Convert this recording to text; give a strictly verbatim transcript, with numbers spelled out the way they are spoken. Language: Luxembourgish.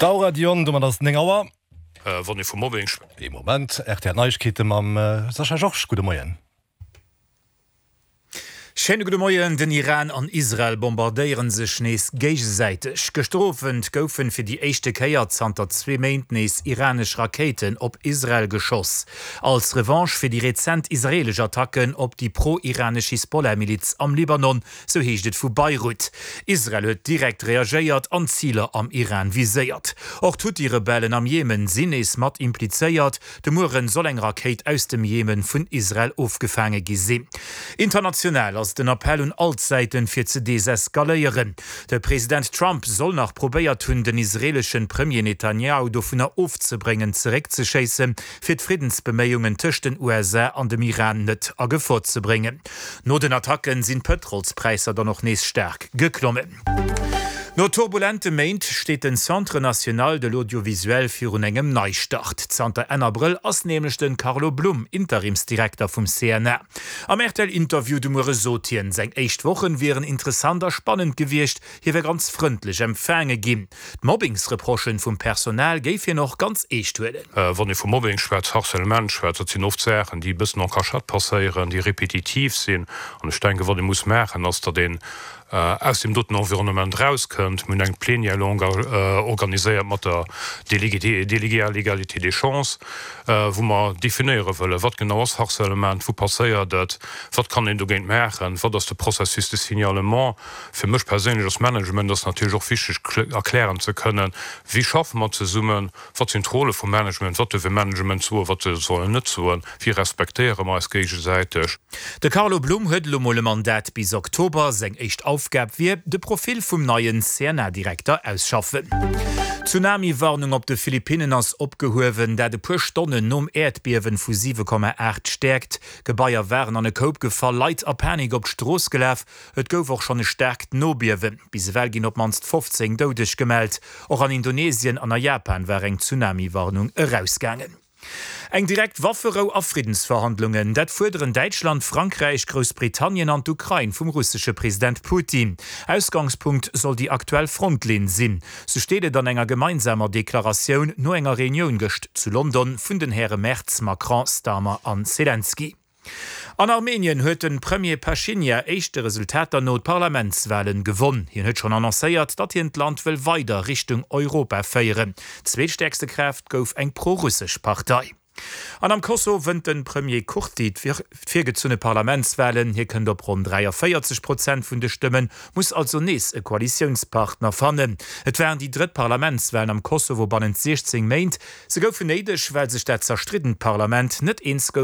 D'Aura Dion, domat ass et néng Auer. Wann ee vu Mobbing schwätzt. Ee Moment, rtl Neiegkeete mam Sascha Georges. Gudde Moien. Schéine gudde Moien. Den Iran an Israel bombardéiere sech nees géigesäiteg. Gëschter Owend goufen fir déi éischte Kéier zanter zwee Méint nees iranesch Rakéiten op Israel geschoss. Als Revanche fir déi rezent israeelesch Attacken op déi pro-iranesch Hisbollah-Miliz am Libanon, sou heescht et vu Beirut. Israel huet direkt reagéiert an Ziler am Iran viséiert. Och d'Huthi-Rebellen am Jemen sinn nees mat implizéiert. De Mueren soll eng Rakéit aus dem Jemen vun Israel ofgefaange gi sinn. International ass den Appell un all d'Säiten, fir ze deseskaléieren. De President Trump soll nach probéiert hunn, den israeeleschen Premier Netanjahu dovunner ofzebréngen, zeréckzeschéissen, fir d'Friddensbeméiungen tëscht den U S A an dem Iran net a Gefor ze bréngen. No den Attacken sinn d'Pëtrolspräisser dann och nees staark geklommen. No turbulente Méint steet den Centre national de l'audiovisuel virun engem Neistart. Zanter Enn Abrëll ass nämlech de Carlo Blum Interimsdirekter vum C N A. Am R T L-Interview de Muere sot hien, seng éischt Wochen wieren interessant a spannend gewiescht, hie wär ganz frëndlech empfaange ginn. D'Mobbingsreprochen vum Personal géif hien och ganz eescht huelen. Wann ee vu Mobbing schwätzt, Harcèlement schwätzt, dat sinn oft Saachen, déi e bëssen en cachette passéieren, déi repetitiv sinn. An ech denken, wat ee muss maachen, ass, datt een aus deem doten Environnement rauskënnt. Mir hunn eng Plénière longue organiséiert mat der Déléguée, Déléguée à l'égalité des chances, wou mer definéiere wëllen, wat genau ass Harcèlement, wou passéiert et, wat kann een dogéint maachen, wat ass de Processus de signalement. Fir mech perséinlech als Management ass natierlech och wichteg, erklären ze kënnen, wéi schaffe mer zesummen, wat sinn d'Rolle vum Management, wat duerf e Management soen, wat soll en net soen, wéi respektéiere mer eis géigesäiteg. De Carlo Blum huet elo mol e Mandat bis Oktober. Seng éischt Aufgab wier, de Profil vum neien C N A-Direkter ausschaffen. D'Tsunami-Warnung op de Philippinnen ass opgehuewen, dat e puer Stonnen nom Äerdbiewen vu siwe Komma aacht Stäerkt. Gebaier waren an e Koup gefall, Leit a Panik op d'Strooss gelaf. Et gouf och schonn e staarkt Nobiewen. Bis ewell ginn op d'mannst fofzéng Doudeg gemellt. Och an Indonesien an a Japan war eng Tsunami-Warnung erausgaangen. Eng direkt Wafferou a Friddensverhandlungen, dat fuerderen Däitschland, Frankräich, Groussbritannien an d'Ukrain vum russesche President Putin. Ausgangspunkt soll déi aktuell Frontlinn sinn. Sou steet et an enger gemeinsamer Deklaratioun no enger Reunioun gëscht zu London vun den Häre Merz, Macron, Starmer an Zelensky. An Armenien huet den Premier Pashinyan éischte Resultater no d'Parlamentswahlen gewonn. Hien huet schonn annoncéiert, datt hien d'Land wëll weider Richtung Europa féieren. Zweetstäerkste Kraaft gouf eng prorussesch Partei. An am Kosovo wënnt den Premier Kurti d'virgezunne Parlamentswahlen. Hie kënnt op ronn dräiavéierzeg Prozent vun de Stëmmen, muss also nees e Koalitiounspartner fannen. Et waren déi drëtt Parlamentswahlen am Kosovo bannent siechzéng Méint. Se goufen néideg, well sech dat zerstriddent Parlament net eens gouf.